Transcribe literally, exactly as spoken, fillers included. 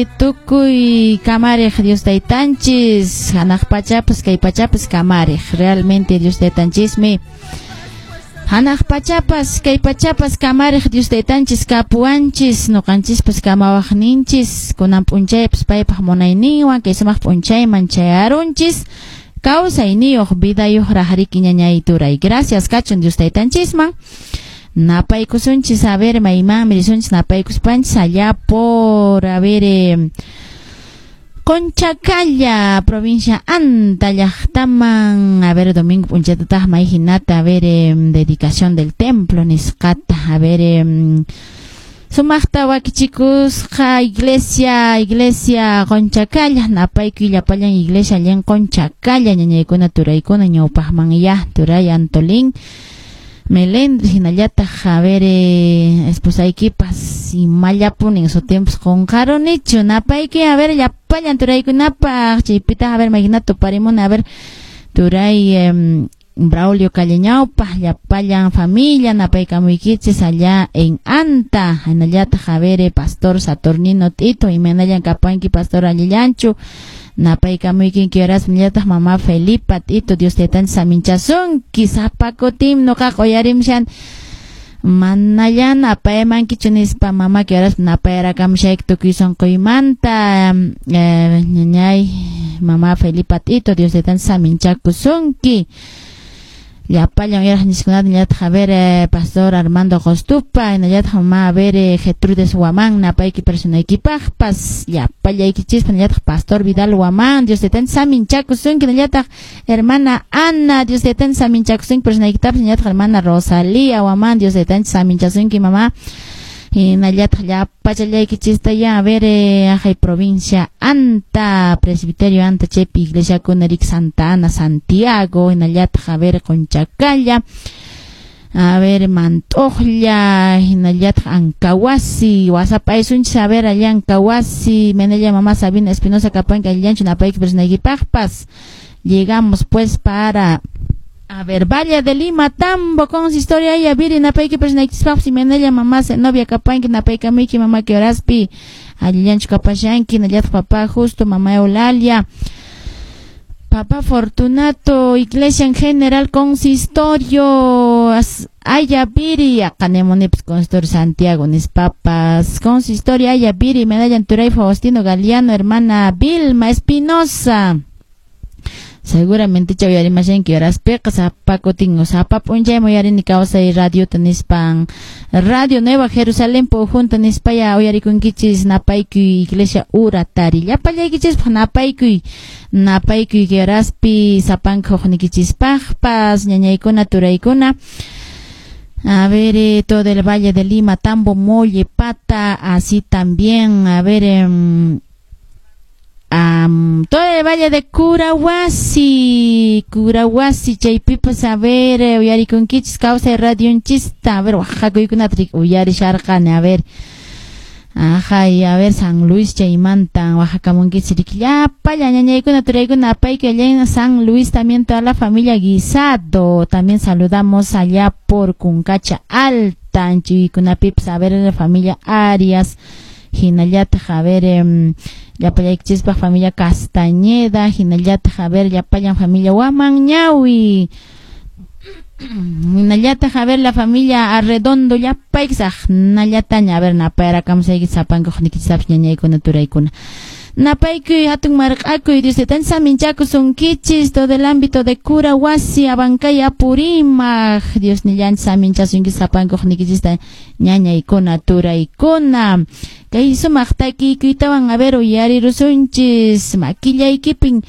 Tukuy kamariq Dios Taytanchis, hanaq pachapas kay pachapas kamariq. Realmente Dios Taytanchismi hanaq pachapas kay pachapas kamariq Dios Taytanchis kapuwanchis, nuqanchispas kamawaqninchis, kunan p'unchaypas paypaq munayninwan kay sumaq p'unchayman chayarunchis. Kawsayniyuq vidayuq raqriki, ñañay, turay. Gracias kachun Dios Taytanchisman. Napaykusunchis, a ver, maymanmi risunchis napaykuspanchis allá por, a ver, eh, Conchacalla, provincia Anta llaqtaman, a ver, domingo p'unchaytataq may hinata, a ver, eh, dedicación del templo nisqata, a ver, eh, sumaqta wakichikusqa iglesia, iglesia Conchacalla, napaykuy llapallan iglesia allin Conchacalla, ñañaykuna, turaykuna, ñawpaqman ya, turay Antolín Melendres, hinallataq, a ver, eh, esposaykipas imallapunin sutimpis qunqarunichu, napayki, a ver, llapallan turaykunapaq, chaypitaq, a ver, mayhinata tuparimuni, a ver, turay eh, Braulio Calleñaupa, llapallan familia, napaykamuykichis allá en Anta, hinallataq, a ver, eh, pastor Saturnino Tito, imaynallan kapanki, pastor, allillanchu, napaykamuykinki horas, hinallataq mamá Felipa Tito, Dios Taytanchis saminchasunki. Sapa kutim nuqaqa uyarimshan manallan apaymankichu nispa mamaki horas napayarakamushayki tukuy sunquymanta, eh, ñañay mamá Felipa Tito, Dios Taytanchis saminchakusunki. Llapallan uyaraqninchikkunata, hinallataq, a ver, eh, pastor Armando Costupa, hinallataq mamá, a ver, eh, Gertrudes Huamán, napayki personaykipaqpas, llapallaykinchispa, hinallataq pastor Vidal Huamán, Dios Taytanchis saminchakusunki, hinallataq hermana Ana, Dios Taytanchis saminchakusunki personaykitapas, hinallataq hermana Rosalía Huamán, Dios Taytanchis saminchasunki, mamá. Hinallataq llapallaykichista ya, a ver, eh, ajay provincia Anta, presbiterio Anta chaypi iglesiakuna rik Santa Ana, Santiago, hinallataq, a ver, Conchacalla, a ver, Mantoqlla, hinallataq Ankawasi, wasapaysunchis, a ver, allá Ankawasi, menella mamá Sabina Espinosa kapanki allillanchu, napayki personaykipaqpas. Llegamos pues para, a ver, Valle de Lima, Tambo, consistoria Ayaviri, napayki personaykichispaqpas, imaynalla mamá Zenobia kapanki, napaykamuyki mamá kay horaspi, allillanchu kapashanki, hinallataq papá Justo, mamá Eulalia, papá Fortunato, iglesia en general, consistorio Ayaviri, aqanemunipas consistorio Santiago, nispapas, consistorio Ayaviri, medalla Turay Faustino Galeano, hermana Vilma Espinosa. Seguramente chay uyarimashanki horaspiqa sapa kutin sapa p'unchaymi uyarini kawsay radiota nispan, Radio Nueva Jerusalén junta nispaya uyarikunkichis. Napaykuy iglesia Uratari llapallaykichispaq, napaykuy napaykuy kay horaspi sapanka huknikichispaqpas, ñañaykuna, turaykuna. A ver, eh, todo el Valle de Lima, Tambo, Mollepata, así también, a ver, eh, um, todo el Valle de Curahuasi, Curahuasi, chaypipas, a ver, eh, uyarikunkichis kawsay radionchista, a ver, waqhakuykunata uyarisharqani, a ver, ajay, a ver, San Luis chaymanta waqhakamunkichis riki llapallan ñañaykuna, turaykuna, apayku allá en San Luis, también toda la familia Guisado, también saludamos allá por Cuncacha Alta, anchuykunapipas, a ver, la familia Arias, hinallataq, a ver, eh, llapallaykichispaq familia Castañeda, hinallataq, a ver, llapallan familia Huamanñawi, hinallataq, a ver, la familia Arredondo, llapaykisaq nallataña, a ver, napayarakamusayki sapanka huknikichistapas, ñañaykuna, turaykuna. Napaykuy hatun marq'akuy Dios Taytanchis saminchakusunkichis, todo el ámbito de Curahuasi, Abancay, Apurímac, Dios nillanchis saminchasunkichis sapanka huknikichista, ñañaykuna, turaykuna. Kay sumaq takiykuytawan, a ver, uyarirusunchis makillaykipin.